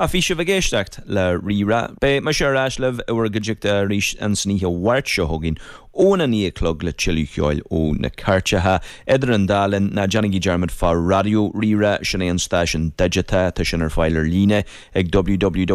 Ach bhí sibh ag éisteacht le Rí-Rá. Beidh mise ar ais libh i bhur gcuideachta arís ins an oíche Mháirt seo chugainn óna 9 a chlog le tuilleadh ceoil ó na cairteacha. Idir an dá linn, ná déanaigí dearmad fá Raidió Rí-Rá, sin é an stáisiún digiteach, tá sin ar fáil ar líne ag www.